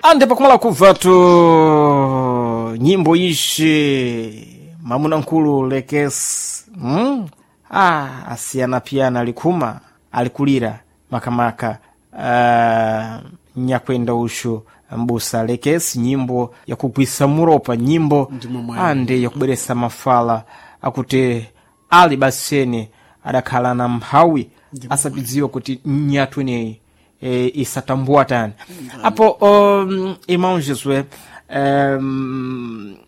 Ande pakumala kubvatu nyimbo ishi mamuna nkulu lekesi Asiyana piyana alikhuma alikulira makamaka nyakwenda uxu mbusa lekesi nyimbo yakugwisa muropa nyimbo Ndimo mwene. ande yakubweresa mafala akuti ali baseni adakhala na mphawi asapidziwa kuti nyatu ineyi isatambuwa tani apo irmão Josué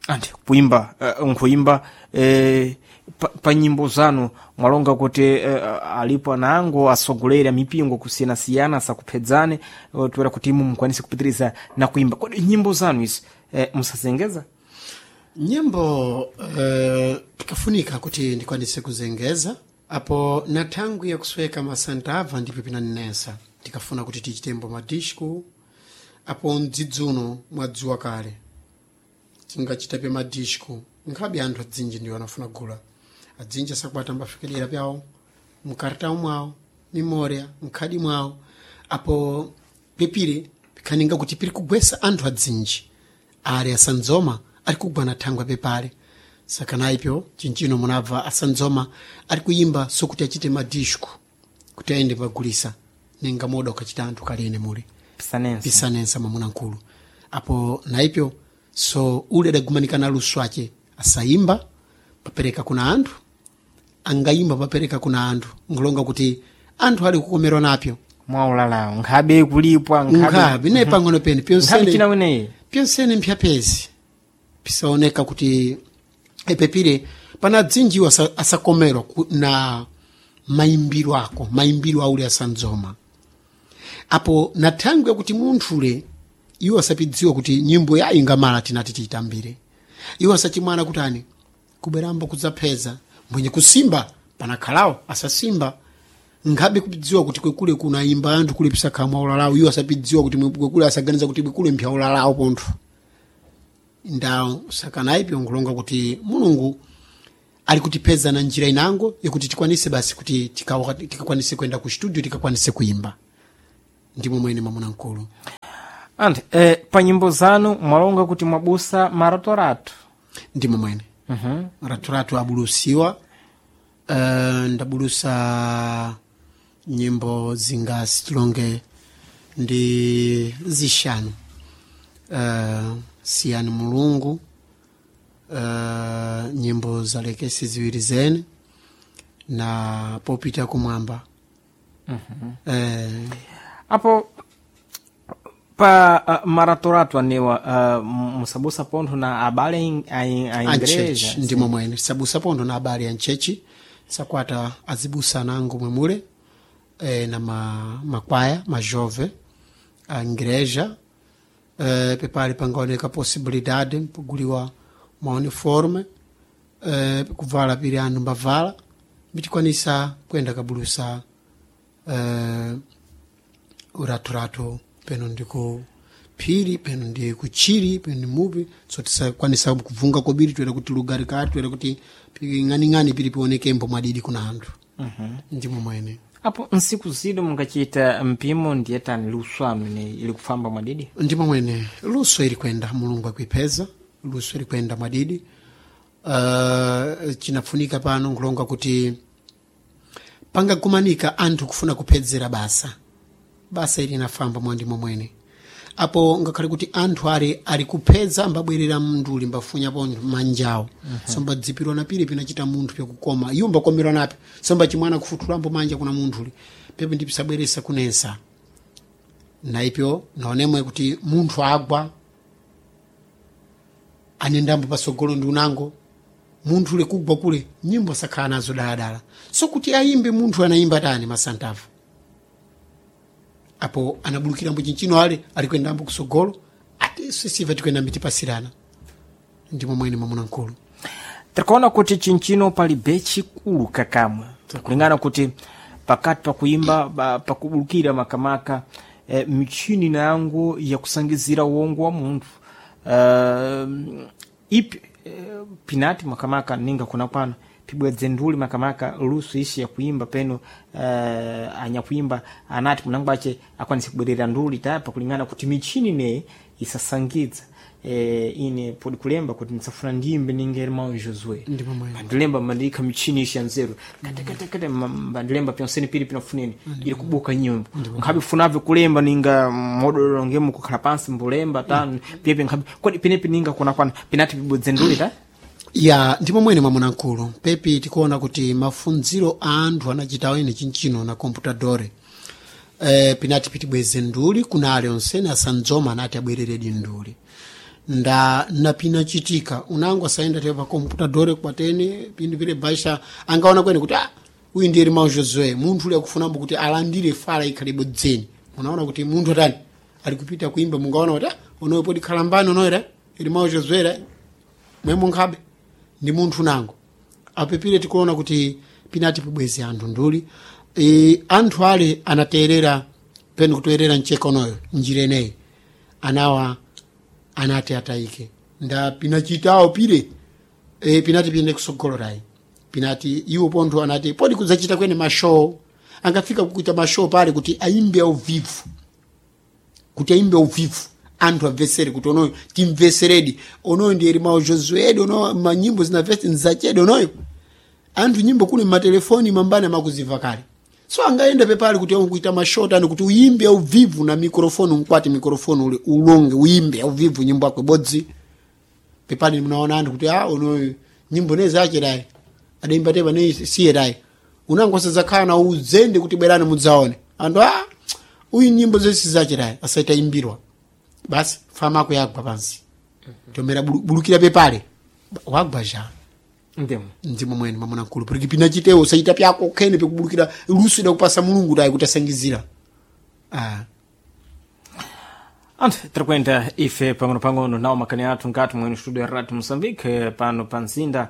andi kuimba nkuimba pa nyimbo zanu mwalonga kuti alipo anango asogolera mipingo kusiyanasiyana asakuphedzane toera kuti imu mukwanise kupitiriza na kuimba kodi nyimbo zanu izi musazengeza Nyimbo pikafunika kuti ndikwanise kuzengeza apo na thangwi yakusweka masantava ndipo pinaninesa tikafuna kuti tichitembo madisco apo mdzidzuno mwadziwa kale tingachitape madisco nkhabe anthu adzinji ndiwo anafuna gula adzinji asakwata ambafikelera pyawo mkartawu mwawo mimoria mkhadi mwawo apo pepire pikhaninga kuti piri kugwesa anthu adzinji ali asandzoma ali kugwa na thangwi pepale saka naipyo chinchino munabva asandzoma ali kuyimba sokuti achite madisco kuti ayende pagulisa ninga moda ukachita anthu kalene muli pisanense pisanensa mwamuna nkulu apo naipyo so ule adagumanika na luso ace asayimba papereka kuna anthu angayimba papereka kuna anthu nkulonga kuti anthu ali kukomerwa napyo mwaulalawo nkhabe kulipwa nkhabe naye pang'ono pene nkhabe pyonsene china weneyi pyonsene mphyapezi pisaoneka kuti epepire pana dzinjiwo asakomerwa na mayimbiro ako mayimbiro aule asandzoma apo na thangwi yakuti munthule iwo asapidziwa kuti nyimbo yayi ngamala tinati tiyitambire iwo asachimwana kuti ani kubwerambo kudzapheza mwenye kusimba panakhalawo asasimba nkhabe kupidziwa kuti kwekule kunayimba anthu kule pisakhala mwaulalawo iwo asapidziwa kuti kwekule asaganiza kuti kwekule mpyaulalawo pontho ndawo sakanaipyo nkulonga kuti mulungu ali kutipeza na njira inango yakuti tikwanise basi kuti tikakwanise kwenda ku studio tikakwanise kuimba ndimo mwene mwamuna mkulu Andi pa nyimbo zanu mwalonga kuti mwabusa maratorato ndimo mwene raturatu abulusiwa ndabulusa nyimbo zingasi tilonge ndi zixanu siyani mulungu nyimbo zalekesi ziwiri zene na popita kumwamba apo pa maratorato anewa musabusa pontho na abale a anchechi igreja ndimo mwene sabusa pontho na abale anchechi sakwata azibusa nango mwemule na makwaya majove a igreja pepali pangaoneka possibilidade mpuguliwa mauniforme kuvala pili anthu mbavala mbitikwanisa kuyenda kabulusa uraturatu peno ndi ku phiri peno ndi kuchiri peno ndi mupi so tisakwanisa kubvunga kobiri toera kuti lugari kati toera kuti ng'aning'ani pili pionekembo mwadidi kuna anthu ndimo mwene apo nsiku zino mungachita mpimo ndiye tani luso anu ine ili kufamba mwadidi ndimo mwene luso ili kwenda mulungu akuipheza luso ili kwenda mwadidi chinafunika pano nkulonga kuti pangakumanika anthu kufuna kuphedzera basa basa ili inafamba mwandimo mwene apo ngakhale kuti anthu ali kuphedza ambabwerera mnduli mbafunyapo manjawo so mbadzipirwa na pili pinachita munthu pyakukoma iwo mbakomerwa napo so mbachimwana kufuthulambo manja kuna munthuli pepo ndipisabweresa kunensa naipyo naonemwe kuti munthu agwa anendambo pasogolo ndi unango munthu ule kugwa kule nyimbo sakhala nazo daladala so kuti ayimbe munthu anayimba tani masantavu apo anabulukirambo chinchino ale alikwendambo kusogolo ati sisiva tikwenda mitipasirana ndimo mwene mwamuna mkulu tikuona kuti chinchino pali bechikulu kakamwe kulingana kuti pakati pakuimba pakubulukira makamaka michini nango yakusangizira uwongo wa munthu ipi pinati makamaka ninga kuna kwano pibwedze nduli makamaka luso ishi ya kuimba peno anyakuimba anati munango ache akwanise kubwerera nduli tapa kulingana kuti michini ne isasangidza ine podi kulemba kuti ndisafuna ndiyimbe ninga irmão Josué Ndipo mwene. bandilemba mandiyikha michini ishi ya nzeru katakata bandilemba pyonsene pili pinafuneni ili kubuka nyimbo nkhabe funavyo kulemba ninga modololo ngemu kukhala pansi mbulemba tanu pyepe nkhabe kodi pinepi ninga kunakwana pinati pibudze nduli ta Ya, ndipo mwene mwamuna mkulu pepi tikuona kuti mafunziro a anthu anachitawo ine chinchino na computadore pinati pitibweze nduli kuna ale onsene asandzoma anati abwereredi nduli nda napinachitika unango asayenda tepa pa computadore kwatene pindu pile baisha angaona kwene kuti ah, uyu ndiye irmão Josué munthu uli akufunambo kuti alandire fala ikhalebo dzeni unaona kuti munthu atani ali kupita kuimba mungaona kuti ah, unoyo podi khalambani unoyera irmão Josué ra mwemo nkhabe ndi munthu nango apepire tikuona kuti pinati pibweze anthu nduli anthu ale anaterera penu kutoerera mchekonoyo njira ineyi anawa anati atayike nda pinachitawo pire pinati piyende kusogolorayi pinati iwo pontho anati podi kudzachita kwene mashow angafika kuita mashow pale kuti aimbe au vivu kuti aimbe uvivu anthu amvesere kuti onoyo timveseredi onoyo ndi Irmão Josué onoyo manyimbo zinavese nzachedi onoyo anthu nyimbo kuli matelefoni mambani amakuziva kale so angaenda pepali kuti akuita mashota ani kuti uimbe auvivu na mikrofoni unkwati mikrofoni ule ulonge uimbe auvivu nyimbo yako ibodzi pepali munaona anthu kuti ah onoyo nyimbo nezachedayi adaimba tepa ne siyedayi unangosadzakhala na uzende kuti bwerani mudzaone anthu ah uyu nyimbo zonse zachedayi asaita imbirwa basi fama ako yagwa pansi tomera bulukira pepale wagwa ja ndimo ndimo mwene mwamuna mkulu porque pinachitewo usaita pyako khene pikubulukira luso idakupasa mulungu tayi kuti asangizira ah. Anthu tirikwenda ife pang'ono-pang'ono nawo makani athu nkati mwene studio ya radio Moçambique pano pa mzinda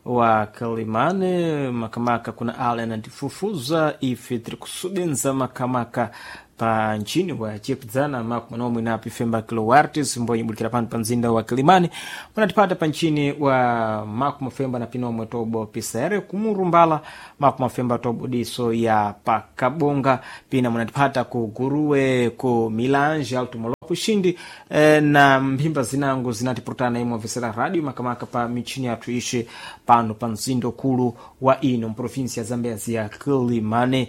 wa Kalimane makamaka kuna ale anatifufuza ife tiri kusubenza makamaka pa nchini wa chepdzana makumanomwe napo ifemba kilowartis mbonyibulikira pano pa mzinda wa Kilimani munatipata pa nchini wa makumafemba na pinomwe tobo pisere kumurumbala makumafemba tobo diso ya pakabonga pina munatipata ku guruwe ku milange alto molopo xindi na mphimba zinango zinatipurutana imwe vesera radio makamaka pa michini yathu ixe pano pa mzinda ukulu wa ino mprovinsia ya zambezi ya Kilimane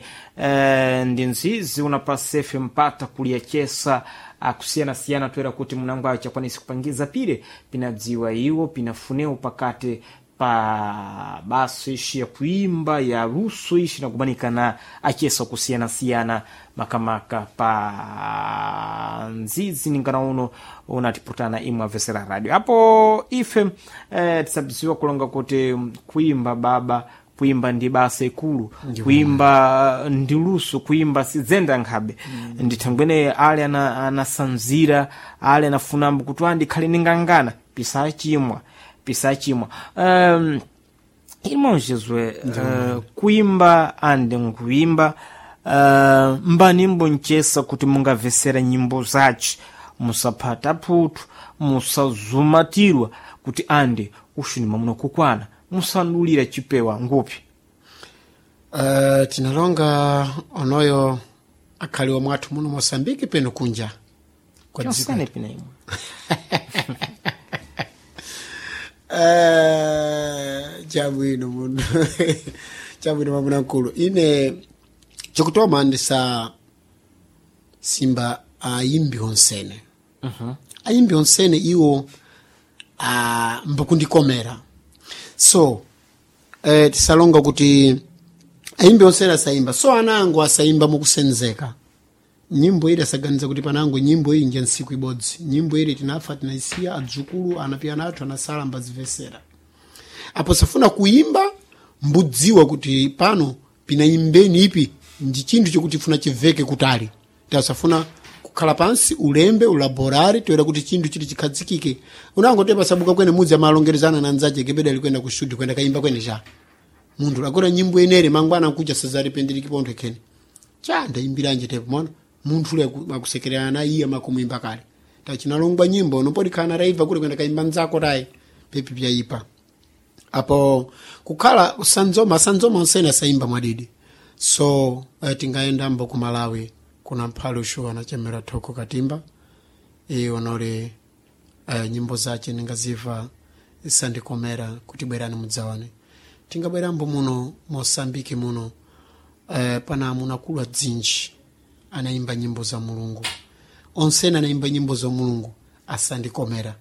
ndi nzizi unapasefe mpata kuliyachesa akusiyana-siyana toera kuti munango acho akwanise kupangiza pire pinadziwa iwo pinafuneu pakati pa baso ixi ya kuimba ya luso ixi nakumanika na achesa kusiyana-siyana makamaka pa nzizi ningana uno unatiputana imwe avesera radio apo ife tisabiziwa kulonga kuti kuimba baba kuimba ndi basa ikulu kuimba ndi luso kuimba sidzenda nkhabe ndithangwene ale anasanzira ale anafunambo kuti andikhale ningangana pisachimwa pisachimwa irmão Josué kuimba ande nkuimba mbanimbo nchesa kuti mungavesera nyimbo zace musaphata phuthu musazumatirwa kuti ande uxu ni mwamuna kukwana musandulira chipewa ngupi Tinalonga onoyo akhaliwa mwathu muno Moçambique peno kunja kwa dziko Chonsene pina imwe Chabwino muno chabwino mwamuna mkulu ine chokutoma ndisa simba ayimbi onsene ayimbi onsene iwo mbakundikomera so tisalonga kuti ayimbi onsene asayimba so anango asayimba mukusenzeka nyimbo ili asaganiza kuti panango nyimbo iyi nja ntsiku ibodzi nyimbo ili tinafa tinaisiya adzukulu anapiyana athu anasala mbazivesera apo safuna kuimba mbudziwa kuti pano pinaimbeni ipi ndi chinthu chokuti funa chiveke kutali tasafuna kukhala pansi ulembe ulaborare toera kuti chinthu chili chikhazikike unangotepa sabuka kwene mudzi amalongerezana na nzache kepeda likwenda ku studio kwenda kaimba kwene cha munthu lakora nyimbo enere mangwana nkuja sazaripendereki pontho khene cha ndaimbiranje tepo mona munthu ule akusekererana na iye amakumwimba kale tachinalongwa nyimbo nopodikhala raibva kule kwenda kaimba nzako tayi pepi pyaipa Apo kukhala sanzoma sanzoma onsene asayimba mwadidi. So tingayendambo ku Malawi kuna mphale ushuwa anachemera Thoko Katimba, iye onole nyimbo zace ningaziva sandikomera kuti bwerani mudzaone. Tingabwerambo muno Mosambiki muno, pana amuna akulu adzinji anayimba nyimbo za Mulungu, onsene anayimba nyimbo za Mulungu asandikomera.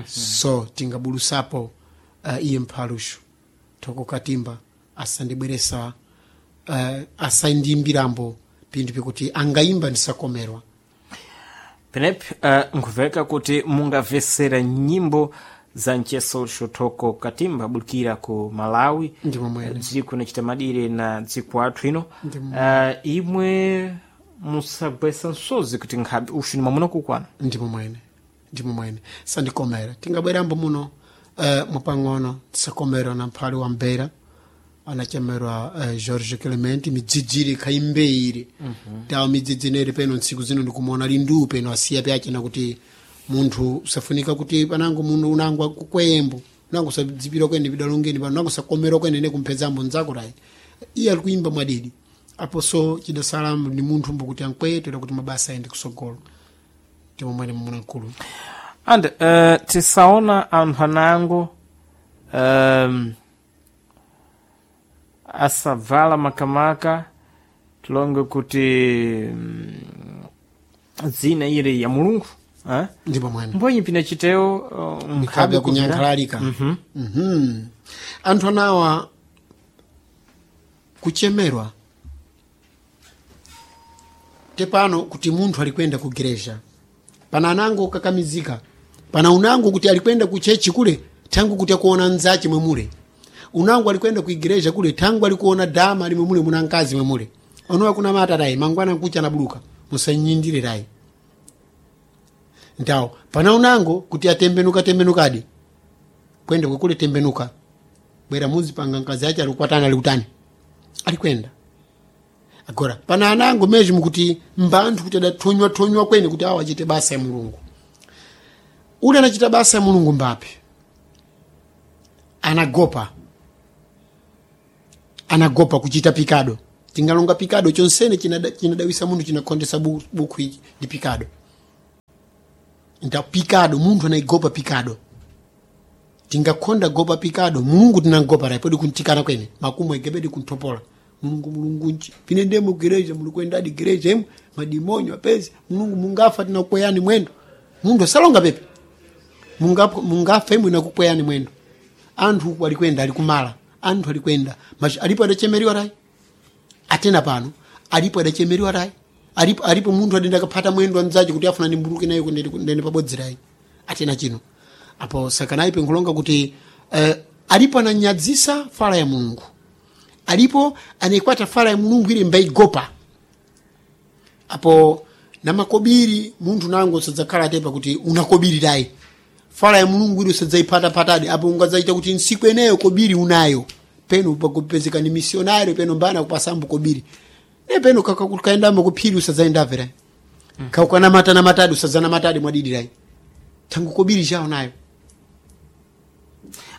So tingabulusapo iye mphalushu Thoko Katimba asandibweresa, asandiyimbirambo pinthu pikuti angayimba ndisakomerwa. Penepi nkuveka kuti mungamvesera nyimbo za mcheso Thoko Katimba bulikira ku Malawi, Ndi momwene. Dziko nachita madire na dziko athu ino. Ndi Imwe musagwesa msozi kuti nkhabe uxu ni mwamuna kukwana. Ndi momwene, ndi momwene, sandikomera. Tingabwerambo muno mupang'ono tisakomerwa na mphali wa Mbeira anachemerwa George Clement, midzidziri khaimbeire. Tawo midzidzi ineri peno ntsiku zino ndikumuona lindu peno asiya pyachena kuti munthu usafunika kuti panango munthu unango akukwembo unango usadzipira kwene pidalongeni pano unango usakomerwa kwene ne kumphedzambo nzako tayi iye ali kuimba mwadidi. Apo so chidasala ni munthu mbokuti ankwetera kuti mabasa ayende kusogolo. Ndi momwene, mumuna mkulu. And tisaona anthu anango asavala makamaka tilonge kuti dzina ili ya Mulungu, eh? Ndi momwene. Mbonyi pina chiteo nkhabe kunyankhalalika. Anthu anawa kuchemerwa tepano kuti munthu alikwenda ku gereja pana anango kukakamizika, pana unango kuti alikwenda ku chechi kule thangu kuti akuona nzache mwemule, unango alikwenda ku igereja kule thangu alikuona dama limwe mule muna mkazi mwemule onowa kuna mata tayi mangwana nkucha anabuluka musanyindire tayi ntawo. Pana unango kuti atembenuka tembenukadi kwenda kwekule tembenuka bwera muzipanga mkazi ache alikukwatana alikutani alikwenda. Agora pana anango mezhi mukuti mbanthu kuti adathonywa thonywa kwene kuti awo achite basa ya Mulungu. Ule anachita basa ya Mulungu mbapi anagopa, anagopa kuchita pikado. Tingalonga pikado chonsene chinadawisa munthu, chinakhondesa buku ichi ndi pikado. Nta pikado munthu anaigopa pikado, tingakhonda gopa pikado Mulungu tinangopa rayi podi kuntikana kwene makumu egebedi kunthopola Mulungu. Mulungu nchi pine ndemo gereja mulikwendadi gereja imwe madimonyo apezi Mulungu mungafa tinakukweyani mwendo. Munthu asalonga pepe mungafa imwe nakukweyani mwendo. Anthu uku alikwenda alikumala anthu alikwenda alipo adachemeriwa rayi atena pano alipo adachemeriwa rayi alipo, alipo munthu adenda akaphata mwendo anzace kuti afuna ndimbuluke nayo ndende pabodzi rayi atena chino. Apo sakanayi penkulonga kuti alipo ananyadzisa fala ya Mulungu, alipo anayikwata fala ya Mulungu ili mbaigopa. Apo na makobiri munthu nango sadzakhala atepa kuti unakobiri tayi fala ya Mulungu ili usadzayiphataphatadi. Apo ungadzaita kuti ntsiku eneyo kobiri unayo peno pakupezeka ni misionario peno mbana kupasambo kobiri ne peno kaendamo kuphiri usadzayendave rayi kaukanamata-namatadi usadzanamatadi mwadidi rayi thangu kobiri chawo nayo.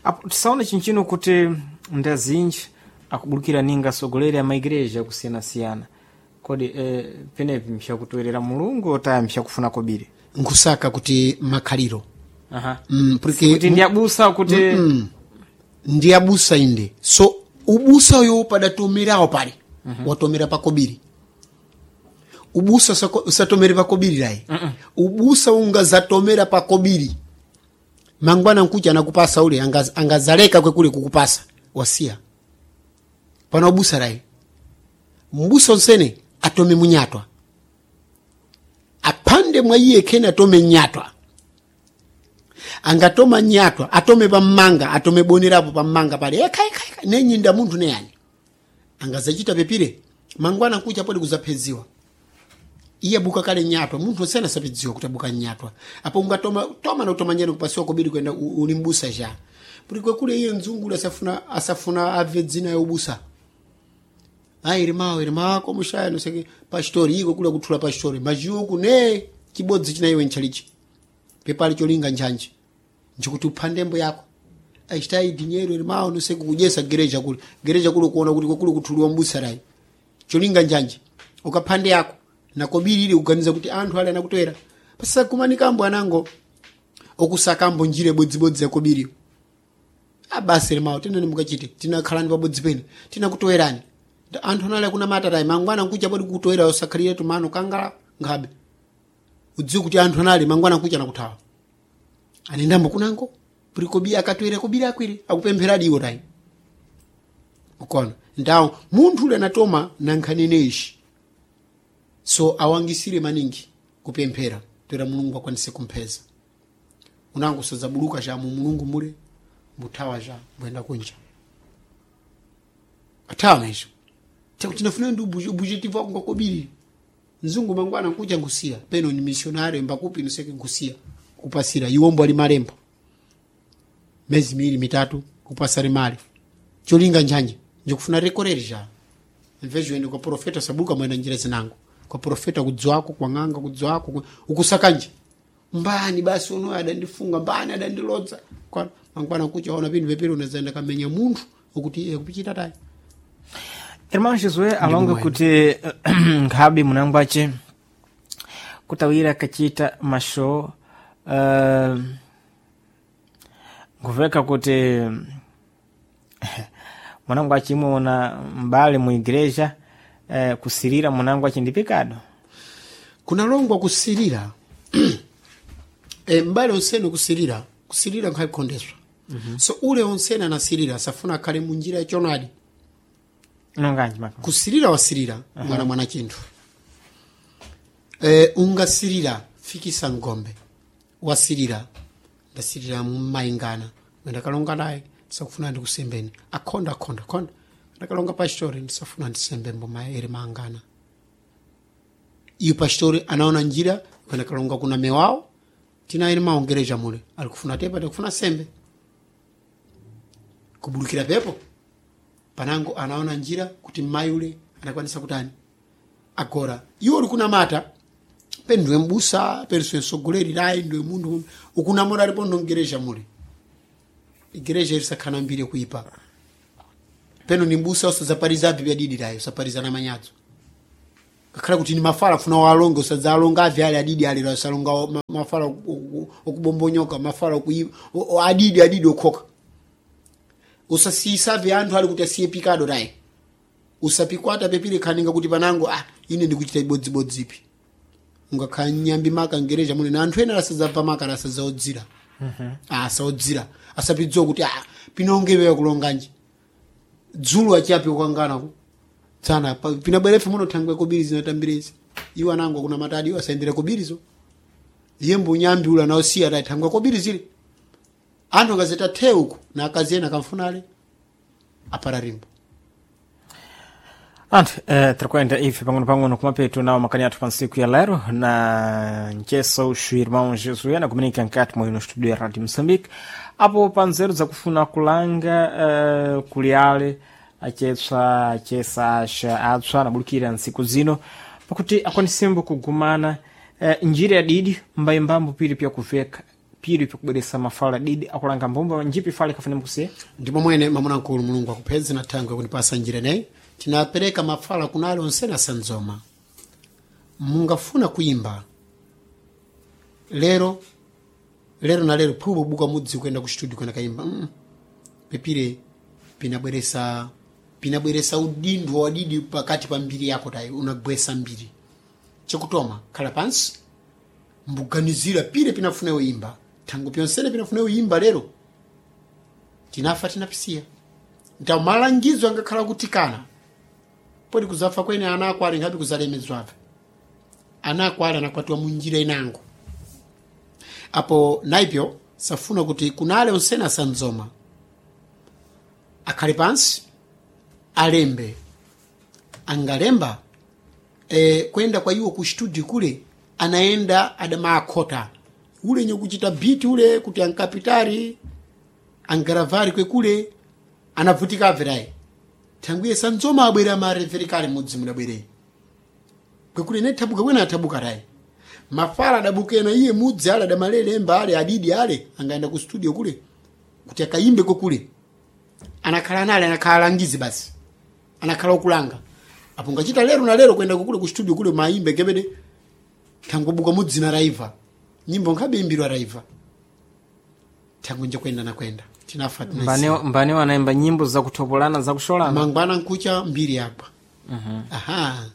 Apo tisaone chinchino kuti ndazinji akubulukira ninga atsogoleri a maigereja akusiyanasiyana kodi penepi mxakutoerera Mulungu otaya mxakufuna kobiri? Nkusaka kuti makhaliro. Aha. Porque Kuti ndi abusa kuti ndi abusa inde so ubusa uyo padatomerawo pale. Watomera pakobiri ubusa usatomere pakobiri layi. Ubusa ungazatomera pakobiri mangwana nkucha anakupasa ule angazaleka kwekule kukupasa wasiya pana ubusa layi. Mbusa onsene atome munyatwa aphande mwa iye khene atome nyatwa angatoma nyatwa atome pammanga atome bonerapo pammanga pale eka eka eka nenyinda munthu neyani angazachita pepire mangwana nkucha podi kuzaphedziwa iye abuka kale nyatwa munthu osena asapedziwa kuti abuka nyatwa. Apo ungatoma toma na utoma njani kupasiwa kobiri kwenda uli mbusa ja kuti kwekule iye mdzungulu asafuna asafuna abve dzina ya ubusa ayi irimawo irimako mushaya noseke pashitori iko kula kuthula pashitori majiuku ne chibodzi china iwe nchalichi pepali cholinga njanje nchikuti uphandembo yako. Achitai dinheiro irmão, não sei kukujesa gereja kule. Gereja kule kuona kuti kule kuthuliwa mbusarai. Cholinga njanje. Ukaphande yako nakobiri ili kuganiza kuti anthu ali anakutwera. Pasa kumanikambo anango okusakambo njire bodzibodzi yakobiri. Abasi irmão, tena nimukachite. Tinakhalani pabodzi pene. Tinakutowerani. Anthu anali akuna matatayi mangwana nkucha podi kutoera osakhalire tumano kangala nkhabe. Udziwe kuti anthu anali mangwana nkucha nakuthawa. Anendambo kunango puri akatwere kobiri akwire akupempheradi iwo tayi. Ukona ndawo munthu ule anatoma nankhanene ishi. So awangisire maningi kupemphera toera Mulungu akwanise kumpheza. Unango sadzabuluka cha mu Mulungu mule mbuthawa cha mbuyenda kunja. Athawa naisho. Chakuti tinafuna ndi ubujetivu wako ngakobiri. Mzungu mangwana nkuja ngusiya peno ni missionary mbakupi nuseke ngusiya kupasira iwombo ali malembo mezi miwiri mitatu kupasari mali cholinga njanje njikufuna rekoreri ja mvejo ende kwa profeta sabuka mwena njira zinango kwa profeta kudzwako kwa ng'anga kudzwako ukusakanje mbani basi uno adandifunga mbani adandilodza kwa mangwana kucha ona pindu pepere unazaenda kamenya munthu ukuti iye kupichita tayi. Irmão Josué alonga kuti nkhabe munangwace kutawira kachita mashow nkuveka kuti mwanangu achimwe mbali mu igreja kusirira mwanangu achi ndi pecado. Kunalongwa kusirira mbali onsene kusirira kusirira nkhayikondeswa. So ule onsene anasirira asafuna akhale munjira yachonadi. Nonganji maka kusirira wasirira mwana mwana chinthu ungasirira fikisa ngombe wasirira ndasirira mmaingana ndakalonga naye ndisakufuna ndikusembeni akhonda akhonda akhonda ndakalonga pastori ndisafuna ndisembe mboma ere maangana iyo pastori anaona njira kwenda kalonga kuna mewawo tina ere maongereja mule alikufuna tepa tikufuna sembe kubulukira pepo panango anaona njira kuti mmayi ule anakwanisa kutani agora iwo uli kunamata pe ndiwe mbusa pe msogoleri layi ndiwe munthu ukunamora alipo ndomgereja mule igereja ilisakhala mbiri kuipa peno ni mbusa usadzapariza abvi byadidi layi usapariza na manyadzo kakhala kuti ni mafala funa walonge usadzalonga abvi ali adidi ali la usalonga mafala okubombonyoka mafala okuipa adidi adidi okhoka usasiyisabve anthu ali kuti asiye pikado layi usapikwata pepire khaninga kuti panango ah ine ndikuchita ibodzibodzipi ungakhala nyambi maka ngereja mune na anthu ena asadzabva maka asadzaodzira asaodzira asapidziwa kuti ah pinongewewa kulonganji dzulo achiapi kukangana ku tsana pinabwerefe muno thangwe kobiri zinatambirezi iwo anango kuna matadi iwo asayendera kobirizo iye mbunyambi ula naosiya tayi thangwe kobiri zile anthu akazeta the uku na akazi ena akamfunale apara rimbo. Anthu tirikwenda ife pang'ono-pang'ono kumapeto nawo makani athu pa ntsiku ya lero na nceso os irmãos Josué na comunica nkati mwa ino studio ya Radio Moçambique apo pa nzeru zakufuna kulanga kuliale acetswa acesa axa atswa anabulukira ntsiku zino pakuti akwanisembo kugumana njira ya didi mbayimbambo pili pyakuveka pili pyakubweresa mafala didi akulanga mbomba njipi fale kafune mkusiya. Ndipo mwene mamuna nkulu Mulungu akupedze na thangwe kunipasa njira ineyi tinapereka mafala kunali onsene asanzoma mungafuna kuimba lero lero na lero phubo buka mudzi kuyenda ku studio kwenda kayimba Pepire pinabweresa pinabweresa udindo wadidi pakati pa mbiri yako tayi unagwesa mbiri chakutoma khala pansi mbuganizira pire pinafuna yoimba thango pyonsene pinafuna yoimba lero tinafa tinapisiya ntawo malangizo angakhala kuti kana poti kuzafa kwene ana ako ali ngapi kuzalemedzwabe ana ako ali anakwatiwa munjira inango apo naipyo safuna kuti kunale onsene asanzoma akhale pansi alembe angalemba kwenda kwa iwo ku studio kule anaenda adamaakhota ule nyokuchita biti ule kuti ankapitari angaravari kwekule anavutika abverayi thangwiye sanzoma abwera mareverikale mudzi mudabwerei kwekule ne thabuka kwena athabuka tayi mafala adabukena iye mudzi ale adamalelemba ale adidi ale angaenda ku studio kule. Kuti akayimbe kokule anakhala nale, anakhala alangizi basi, anakhala okulanga. Apo ngachita lero na lero kwenda kukule ku studio kule mayimbe kebede tangobuka mudzina raiva nyimbo nkhabe imbirwa raiva tango nje kwenda na kwenda tinafa Mbane mbane wanaimba nyimbo zakutopolana, zakusholana. Mangwana nkucha mbiri yagwa. Aha,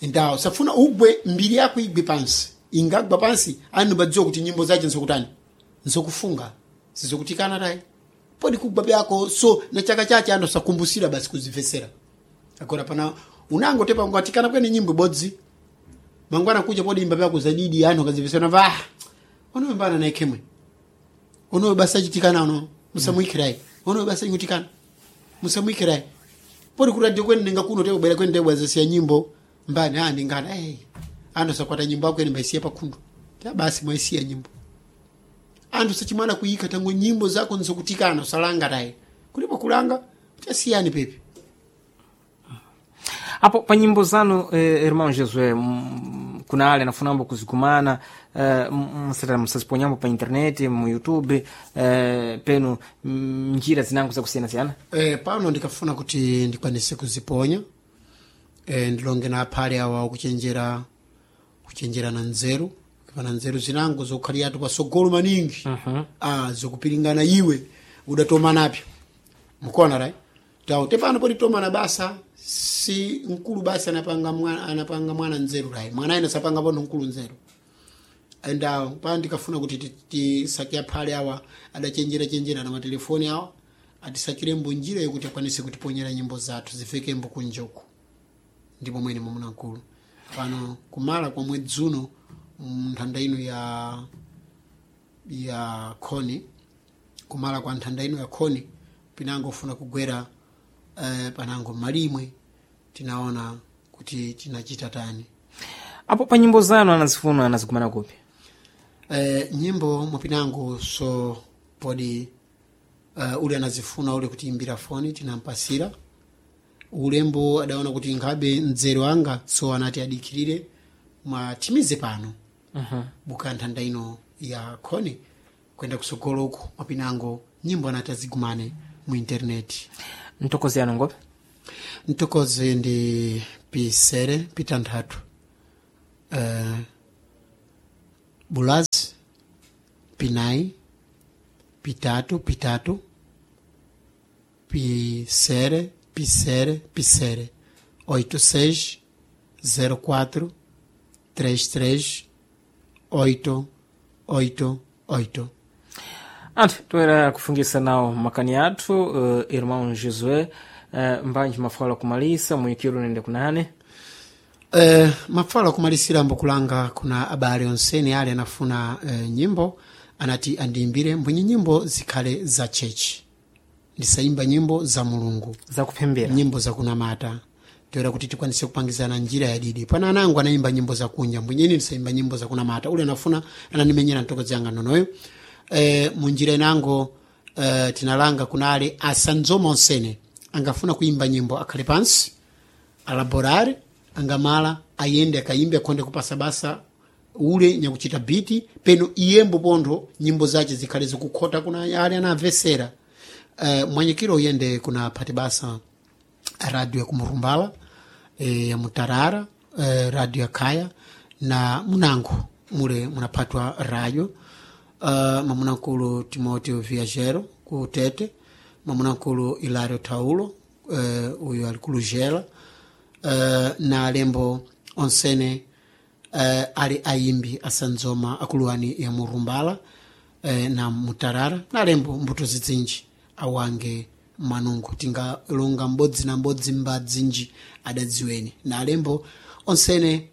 ndawo safuna ugwe mbiri yako igwe pansi, ingagwa pansi anu badziwa kuti nyimbo zace nzokutani, nzokufunga, sizokutikana tayi podi kugwa byako so na chaka chache ando sakumbusira basi kuzivesera. Agora pana unango tepa ngatikana kwene nyimbo bodzi mangwana kuja podi imba byako zadidi anu kazivesera va ono mbana na ikemwe ono basa chitikana ono musamwikirai ono basa ingutikana musamwikirai podi kuradio kwene ninga kuno tebo bwera kwene tebo azasiya nyimbo mbani ah ningana eh ando sakwata nyimbo yako ene mbaisiya pakhundu ta basi mwaisiya nyimbo anthu sachimwana kuyika tango nyimbo zako nzokutikana usalanga tayi kulipo kulanga tasiyani pepe. Apo pa nyimbo zanu irmão Josué, kuna ale anafunambo kuzikumana musaziponyambo pa internet mu YouTube penu njira zinango zakusiyanasiyana. Pano ndikafuna kuti ndikwanise kuziponya ndilonge na aphale awa kuchenjera kuchenjera na nzeru pana nzeru zinango zokhaliratu pasogolo maningi. Zokupiringana iwe udatoma napyo mukona right tawo tepano poti tomana basa si mkulu basi anapanga mwana, anapanga mwana nzeru right mwana ine sapanga pono mkulu nzeru endawo pa ndikafuna kuti tisake aphale awa adachenjera chenjera na matelefoni awa atisakirembo njira yokuti akwanise kutiponyera nyimbo zathu zifikembo kunjoku ndipo mwene mwamuna mkulu pano kumala kwa mwedzi uno nthanda ino ya khoni kumala kwa nthanda ino ya khoni pinango funa kugwera panango malimwe tinaona kuti tinachita tani. Apo pa nyimbo zanu anazifuna anazikumana kupi? Nyimbo mwapinango so podi ule anazifuna ule kutiimbira foni tinampasira ulembo adaona kuti nkhabe mdzero anga so anati adikirire mwatimize pano buka nthanda ino ya khoni kwenda kusogoloku mwapinango nyimbo anati azigumane mu intaneti. Mtokozi yanu ngopi? Mtokozi ndi pisere pitanthatu bulazi pinayi pitatu pitatu pisere pisere pisere 86 04 33 8 8 8. Anthu toera kufungisa nawo makani athu irmão Josué mbanji mafala kumalisa muyikiro nende kunane. Mafala kumalisira mbukulanga kuna abale onsene ale anafuna nyimbo anati andiimbire mbwenye nyimbo zikhale za chechi ndisayimba nyimbo za mulungu zakupembera nyimbo zakunamata toera kuti tikwanise kupangizana njira yadidi pana anangu anayimba nyimbo zakunja mbwenyeni ndisayimba nyimbo zakunamata ule anafuna ananimenyera mtokozi yanga nonoyo munjira inango tinalanga kunale asanzoma onsene angafuna kuimba nyimbo akhale pansi alaborare angamala ayende akayimbe akhonde kupasa basa ule nyakuchita biti peno iyembo pontho nyimbo zace zikhale zikukhota kuna ale anamvesera mwanyikiro uyende kuna phati basa radio ya kumurumbala ya mutarara radio ya khaya na munango mule munaphatwa radio mamunamkulu Timoteo Viajero ku Tete, mamunamkulu Hilario Taulo uyu ali ku Lugela na alembo onsene ali ayimbi asanzoma akuluwani ya murumbala na mutarara na alembo mbuto zidzinji awange manungo tingalonga mbodzi na mbodzi mbadzinji adadziweni na alembo onsene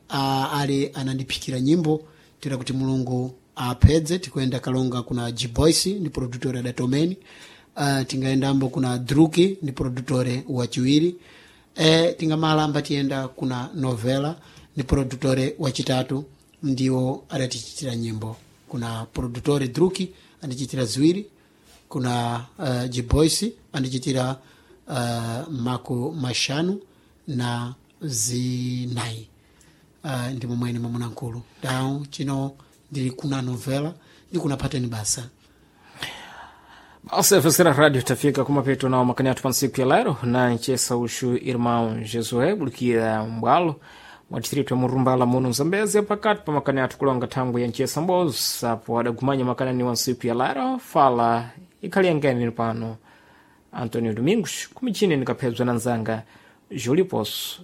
ali anandiphikira nyimbo tira kuti mulungu apedze tikuenda kalonga kuna gboyce ndi produtore adatomeni tingaendambo kuna druki ndi produtore wachiwiri tingamalamba tiyenda kuna novela ndi produtore wachitatu ndiwo adatichitira nyimbo kuna produtore druki andichitira ziwiri kuna gboyce andichitira maku mashanu na zinayi ndi momwene mwamunamkulu dawu chino ndili kuna novela ndi kuna pateni basa. Basi radio tafika kumapeto nawo makani athu pa ntsiku ya lero na nchesa uxu irmão Jesué bulikira mbwalo mwa distrito ya Murumbala muno Mzambezi pakati pa makani athu kulonga thangwi ya nchesa mbozi apo adagumanya makani ani wa ntsiku ya lero fala ikhali yangeni pano Antonio Domingos kumichini nikaphedzwa na nzanga Júlio Poço.